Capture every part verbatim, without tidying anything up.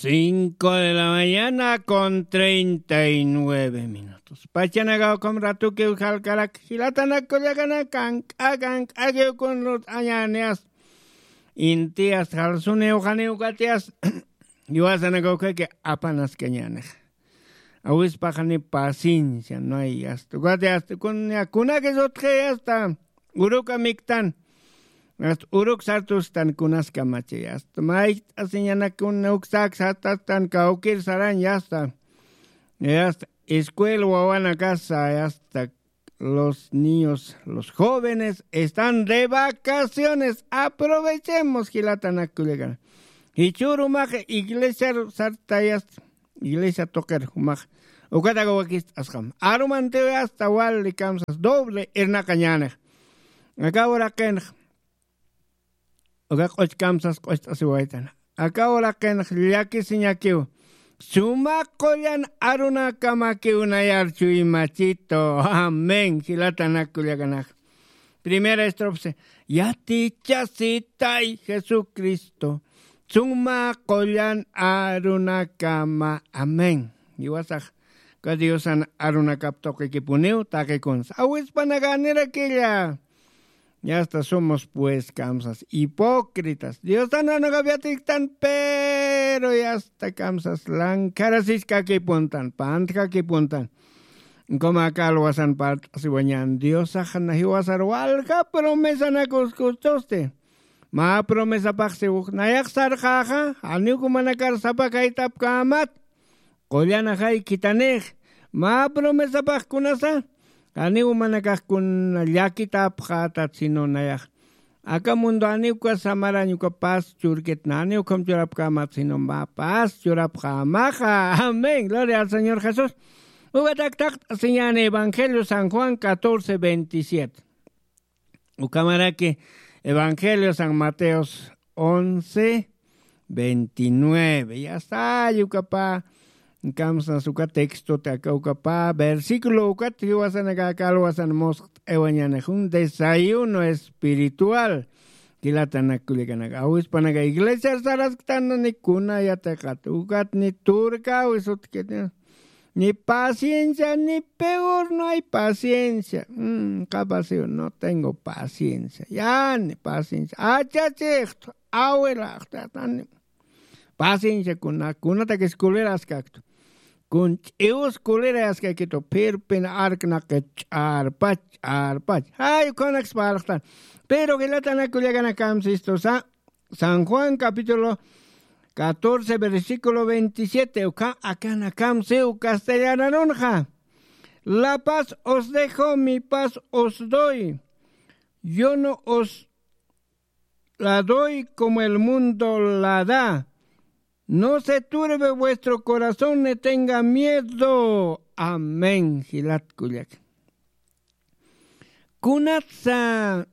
Cinco de la mañana con treinta y nueve minutos. Pachanakaw ukham ratukiw jalkarak, jilatanakullakana, kank'a kank'akiw kun lurt'añäni asta. Inti asta jalsuniw janiw kati asta. Jiwasanakaw ukhaki apanaskañäni. Awispaxani paciencia, no hay asta. Ukat asta kun, kunakis utji asta. Uruka miktan. Asta uruk sartustan kunaskamachi asta. Mayt'asiñanakun uksaks satastan kawkir sarañ asta. Asta escuela wawanakasa asta. Los niños, los jóvenes están de vacaciones. Aprovechemos, jilatanakullakana. Jichhürumax iglesia sartayas, iglesia tuqir jumax. Ukataga wakist'asxam. Arumantiw asta wali kamsas doble irnaqañänix. Aka uraqinx. Uka q'uch kamsas q'ucht'asiwaytan. Aka uraqinx llakisiñakiw. Suma qullan arunakamakiw nayar chuymachito. Amén. Jilatanakullakanax. Primera estrofa. Yatichasitay Jesucristo. Suma qullan arunakama. Amén. Jiwasax. Ka Diosan arunakap tuqikipuniw taqikunsa. Awispanaka nirakilla. Ya hasta somos pues kamsas hipócritas. Diosan arunakap yatiktan, pero ya hasta kamsas lankharasiskakipuntan, pantkakipuntan. Como aka alwasan parlt'asiwañän Diosax na jiwasar walja promesanak uskustusti. Mä promesapaxsi uj nayax sarxäxa, janiw jumanakar sapakaytapkämat. Qullanaxay khitanix. Mä promesapax kunasa, janiw jumanakax kuna llakitapxätat sino nayax. Aka mundo janiw uka samarañ uka paz churkitna, janiw ukham churapkämat sino mä paz churapxämaxa. Amén. Gloria al Señor Jesús. Ukatak taqt'asiñäni Evangelio San Juan catorce veintisiete. Ukhamaraki Evangelio San Mateos once veintinueve. Ya está, ukapa, kamsas uka texto, aka ukapa, versículo ukat, jiwasanaka aka alwasan musqt'awañänix, un desayuno espiritual. Jilatanakullakanaka, awispanaka iglesia sarasktanani kuna yatiqat, ukat ni turkawi sutkit. Ni paciencia, ni peor no hay paciencia. Mm, capaz yo no tengo paciencia. Ya, ni paciencia. Achachixtu, awilaxtu, atani. Paciencia kuna, kunatakis kuliraskaktu. Kun ch'iwus kulirayaskakitu, phirpin arknaqit ch'arpach, ch'arpach. Ay, kunaks parlaxtan. Pero jilatanakullakanakamsistusa, San Juan capítulo catorce, versículo veintisiete, uka, akanakamsiw castellanarunxa. La paz os dejo, mi paz os doy. Yo no os la doy como el mundo la da. No se turbe vuestro corazón ni tenga miedo. Amén. Jilat kullak. Kunatsa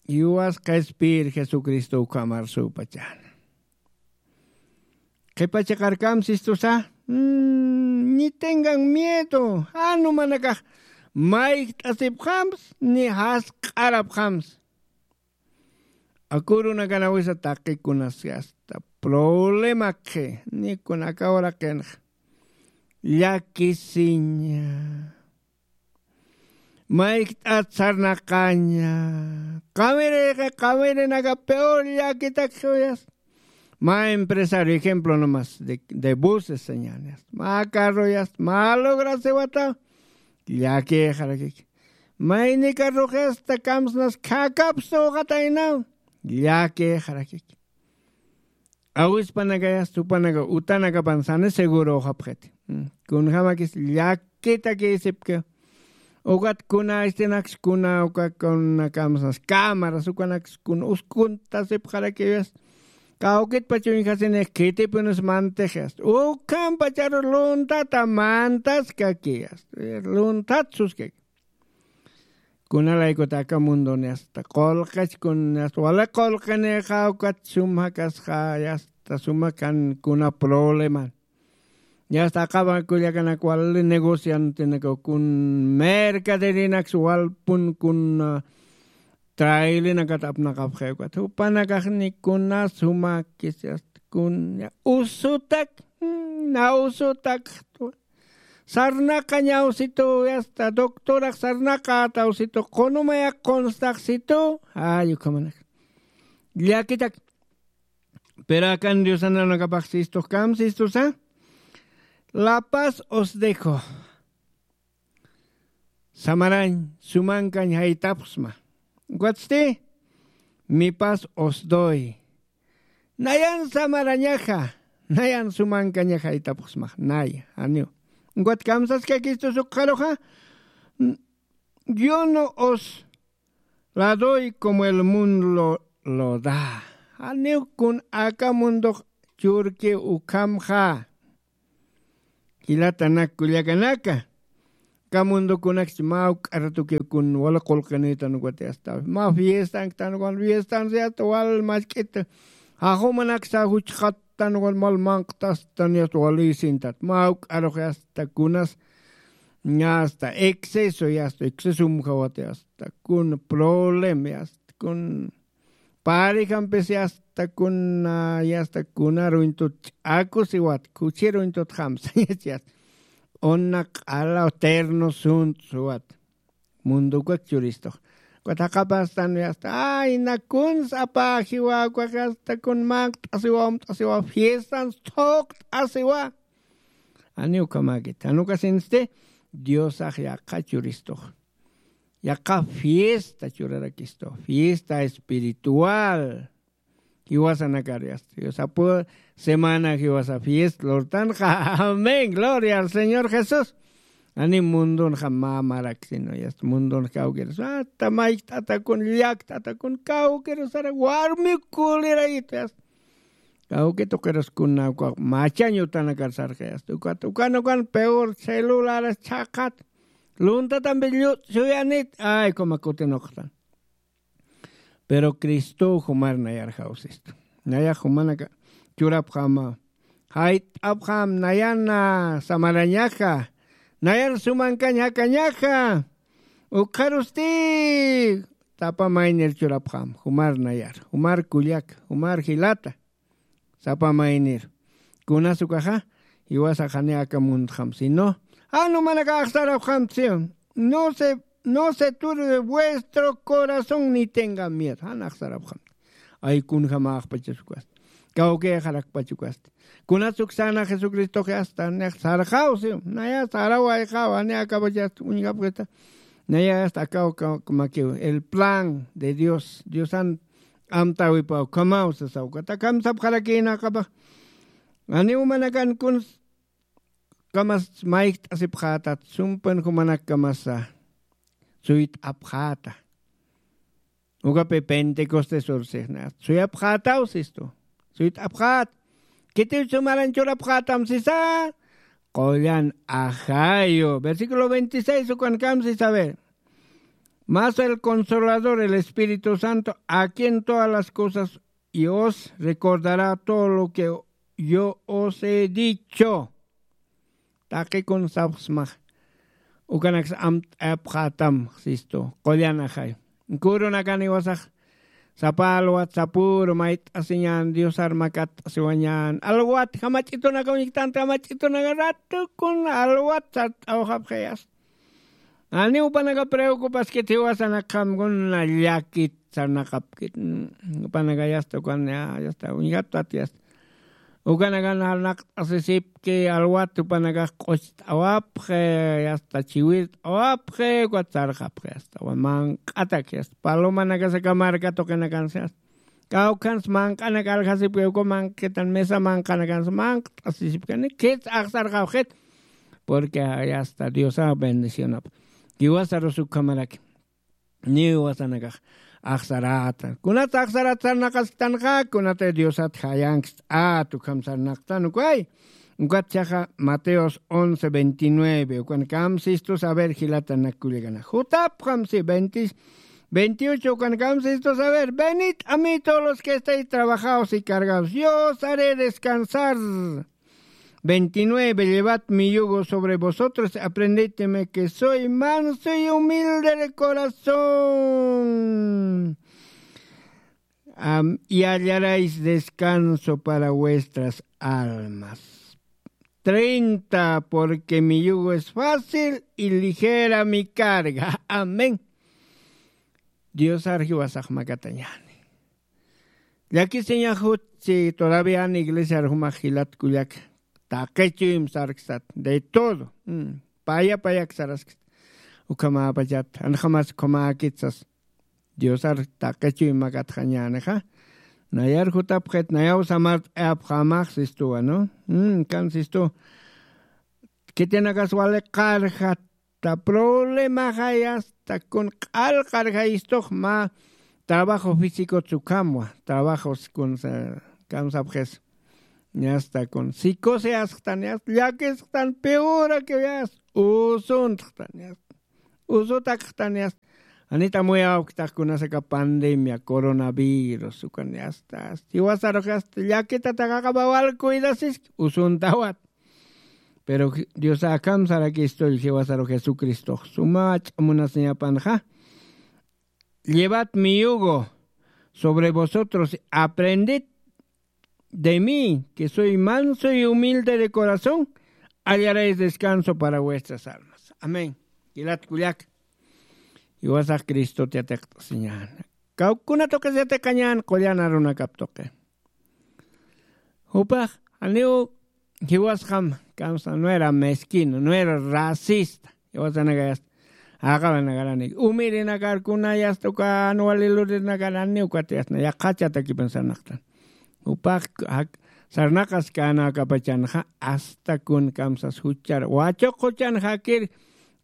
Yuwas qhispir Jesucristo ukhamar supachana. Qhipa chiqarkam sistusa, mm, ni tengan miedo, jan jumanakax mayjt'asipxams, ni jasq'arapxams. Akurunakana wisa taqikunas hasta problema qhi, ni kunaka uraqinx llakisiña. Mayjt'at sarnaqaña. Qawiri, qawirinaka peor llakitak suyas. Mä empresario, ejemplo nomás, de, de buses, señales. Mä carroyas, mä lograsiwata. Llakixarakik. Mayni carroxista kamsnas khakapsu uxataynaw. Llakixarakik. Awispanakayas, jupanaka, utanakapan sani seguro uxapxiti. Mm. Kunjamakis llakitakisipki. Ukat kuna istinaks, kuna uka kuna kamsas, cámaras, ukanaks kuna uskuntasipxarakiwis. Kawkitpach uñjasinix khitipunis mantixis. Ukhampacharu luntata mantaskakiyas. Luntat suskaki. Kunalaykutaka mundoni hasta qullqich kun hasta wali qullqinixa ukat sum jakasxa, hasta suma kan kuna problema. Hasta aqawa kullakanak wali negociantenaka kun mercaderinaks walpun kun, ah, trailinakat apnaqapxi ukat. Jupanakax ni kuna sumakis hasta kun usutak, mm, na usutak. Sarnaqa ñawsitu, yasta doctorax sarnaqa tawsitu, qunumaya qunstaxsitu. Ay, ukhamanak llakitak. Pero akan Diosanakapax sistux kam sistusa, la paz os dejo. Samarañ sumankañ jaytapxsma. Ukatsti, mi paz os doy. Nayan samarañaxa, nayan sumankañaxa jaytapxsma, naya, janiw. Ukat kamsaskakistus ukxaruxa, yo no os la doy como el mundo lo, lo da. Janiw kun aka mundox churki ukhamxa. Jilatanak kullakanaka. Aka mundokunakchi mä juk'aratukiw kun wali qullqinïtan ukat yasta. Mä fiestanktan ukan fiestan yasta wal mask'it. Jajumanaksa juchxattan ukan mal manq'tastan yasta wali sintat. Mä juk'arux yasta kunas. Yasta exceso yasta exceso umjawat yasta. Kun problema yasta kun Parijampis yasta kuna, yasta kunaruñtut ch'akusiwat, kuchiruñtut jamsañas yasta. Una q'alaw terno sunt'suwat. Mundukak churistux. Kutaqapastan yasta. Ay, na kuns apajiwa, kuyaq yasta kun manq't'asiwa, umt'asiwa, fiestan thuqt'asiwa. Ani ukamakit. Anukasinsti, Diosax yaqha churistux. Yaqha fiesta churarakistu, fiesta espiritual. Jiwasanakar yasta. Yusapu semana jiwasa fiesta lurtanxa. Amén. Gloria al Señor Jesús. Ani mundunxa mamarak sino yasta. Mundun kawkirus. Hasta maykt'atakun, llakt'atakun, kawkirusara warmi kulirayitu yasta. Kawki tuqirus kuna uka machañ utanakar sarxi yasta. Ukat, ukan, ukan peor celularas chhaqat. Luntatampi llutshuyanit, ay, kuma kutinuqtan. Pero Cristo jumar nayar jawsistu. Nayax jumanaka churapxama. Jayt'apxam nayana samarañaxa. Nayar sumankañ jakañaxa. Ukxarusti sapa maynir churapxam. Jumar nayar. Jumar kullak. Jumar jilata. Sapa maynir. Kunas ukaxa, jiwasax jani aka mundxam, sino, jan jumanaka axsarapxam, si, no se, no se turbe vuestro corazón ni tenga miedo. Jan axsarapxam. Ay, kunjamaxpachas ukasti. Kawkixarakpach ukasti. Kunas uksana Jesucristox yasta, nix sarxaw, si, naya sarawayxaw, jani akapachas uñjapxita. Naya yasta, akaw, akaw, makiw. El plan de Dios, Diosan amtäwipaw, ukhamaw sasaw, ukat akam sapxarakïnakapax. Janiw jumanakan kuns kamas mayjt'asipxätat, sumpan jumanakkamasa suyt'apxäta. Ukapï Pentecostes ursixna, suyapxätaw sistu, suyt'apxät. Kitiw sumaran churapxätam sisa, qullan ajayu. Versículo veintiséis ukankam sisa, a ver. Mas el Consolador, el Espíritu Santo, a quien todas las cosas y os recordará todo lo que yo os he dicho. Taqikun sapxsmax. Ukanaks amt'apxätam, sistu. Qullan ajay. Kurunakan jiwasax. Sapa alwat sapüru mayt'asiñan, Diosar makatt'asiwañan. Alwat, jamach'itunaka uñjktant, jamach'itunaka ratukun alwat sart'awxapxi yasta. Janiw jupanaka preocupaskit jiwasanakxam kuna llakit sarnaqapkit. Mm, jupanaka yasta ukan, ya, yasta, uñjatpat yasta. Ukanakan sarnaqt'asisipki alwat jupanakax q'ucht'awapxi, yasta chiwirt'awapxi, ukat sarxapxi yasta. Manq'atak yasta. Palomanakasa aka marka tuqinakansa yasta. Kawkhans manq'anak aljasipki, uka manq'itan mesa manq'anakans manq't'asisipkani, khits axsarxapxit, porque yasta Diosax bendicionap. Jiwasarus ukhamaraki. Niw jiwasanakax axsaräta. Kunat axsarat sarnaqasktanxa, kunat Diosat jayankt'at, ukham sarnaqtan ukay. Ukat jichhaxa Mateos once veintinueve, ukankam sistus, a ver, jilatanak kullakana. Jutapxam si, veinte, veintiocho, ukankam sistus, a ver, venid a mí todos los que estáis trabajados y cargados, yo os haré descansar. Veintinueve, llevad mi yugo sobre vosotros, aprended de mí que soy manso y humilde de corazón. am, y hallaréis descanso para vuestras almas. Treinta, porque mi yugo es fácil y ligera mi carga. Amén. Diosar jiwasax makatañäni. Llakisiñax jutchi todavía an iglesiar jumax jilat kullak taqi chuyma sarksat, de todo. Mm, paya payak sarasksa. Ukhamäpachat, anxamas ukhamäkit sas. Diosar taqi chuyma makatxañänixa. Nayar jutapxit, nayaw samart'ayapxämax sistuwa, ¿no? Mm, kan sistu. Khitinakas wali qarjat, ta problemaxay asta kun q'al qarjayistux mä trabajo físico tsukamwa, trabajos kun sa-, kamsapxis. Asta kun psicoseasxtan, asta llakisxtan, peor que asta usuntxtan, asta usutakxtan, asta. Anita muy awktax kunasaka pandemia, coronavirus, ukan asta, asta. Jiwasarux asta llakitatax aqaba wal cuidasiski, usuntawat. Pero Dios akham sarakistull jiwasaru Jesucristox. Sumach munasiñapanxa. Llevad mi yugo sobre vosotros, aprended de mí, que soy manso y humilde de corazón, hallaréis descanso para vuestras almas. Amén. Jilat kullak. Jiwasax Cristox yatiqt'asiñäni. Kawkuna tuqis yatiqañäni qullan arunakap tuqi. Jupax, janiw jiwasxam, kamsa, no era mezquino, no era racista. Jiwasanakay asta. Aqabanakaranik. Umirinakar kunay asta uka jan wali luririnakarani ukat asta. Yaqhachatakipan sarnaqtan. Jupax, jak-, sarnaqaskanakapachanxa, asta kun kamsas juchar. Wachuq juchan jakir,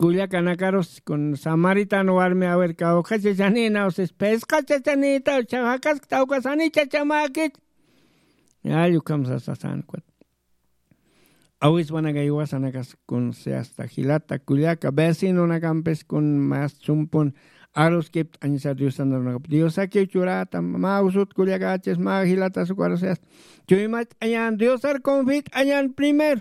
kullakanakarus kun samaritano warmi, a ver, kawkha chachanïnaw sis, phisqa chachanïtaw, chawjakaskta ukas jani chachamäkit. Ay, ukham sasasan ukat. Awispanakay jiwasanakas kun si asta jilata kullaka vecinonakampis kun mas sumpun aruskipt'añsa Diosan arunakap. Diosakiw churata, mä usut kullakachis, mä jilatas ukarus si asta. Chuymacht'añän, Diosar confiat'añän primero.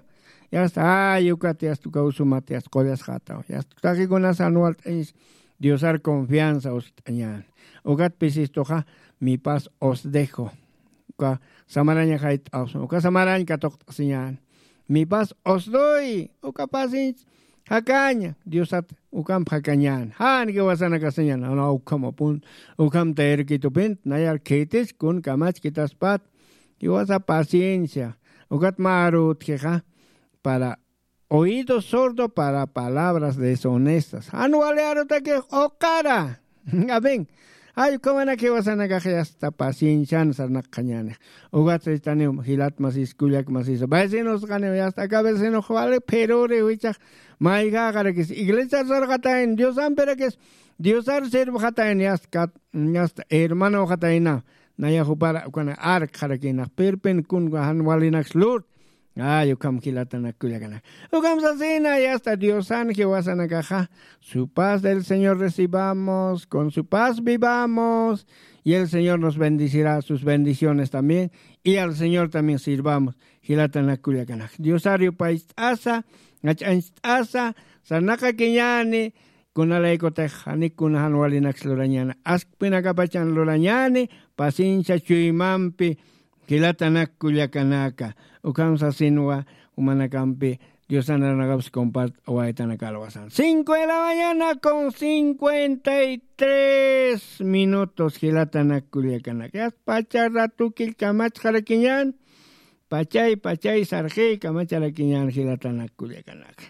Yasta, ay, ukat yasta uka usumat yasta qullasxataw. Yasta, taqikunas jan walt'añis Diosar confianza uskt'añän. Ukat pisistuxa, mi paz os dejo. Uka samaraña jayt'awsa, uka samarañ katuqt'asiñän. Mi paz os doy, uka pasinch jakaña, Diosat ukamp jakañän. Jan jiwasanakasiñän, jana ukhamapun, ukham tayirkitupint, nayar khitis kun kamachkitaspat, jiwasa paciencia, ukat mä arutjixa, para oído sordo para palabras deshonestas. Jan wali arutakix uqara. Amén. Ay, ukhamanak jiwasanakax yasta paciencian sarnaqañänix. Ukat sastaniw jilat masis, kullak masis. Vecinos qaniw yasta aka vecinox wali phiruriw jichhax. Mayjäxarakis iglesiar sarxatayna, Diosampirakis, Diosar sirvxatayna yasta kat, yasta hermanoxatayna. Naya jupar ukana arkxarakïnax, pirpin kun jan walinaks lurt. Ay, ukham jilatanak kullakanak. Ukham sasina, yasta Diosan jiwasanakaxa, su paz del Señor recibamos, con su paz vivamos, y el Señor nos bendecirá, sus bendiciones también, y al Señor también sirvamos, jilatanak kullakanak. Diosar yupaycht'asa, jach'ancht'asa, sarnaqakiñäni, kunalaykutix jani kuna jan walinaks lurañäni, askpinakapachan lurañäni, paciencia chuymampi, jilatanak kullakanaka. Ukham sasinwa, jumanakampi, Diosan arunakapis compart'awaytanaka alwasan. Cinco de la mañana con cincuenta y tres minutos, jilatanak kullakanaka. Yasta pacha ratu killkamachxarakiñän, pachay, pachay sarxi kamacharakiñän jilatanak kullakanaka.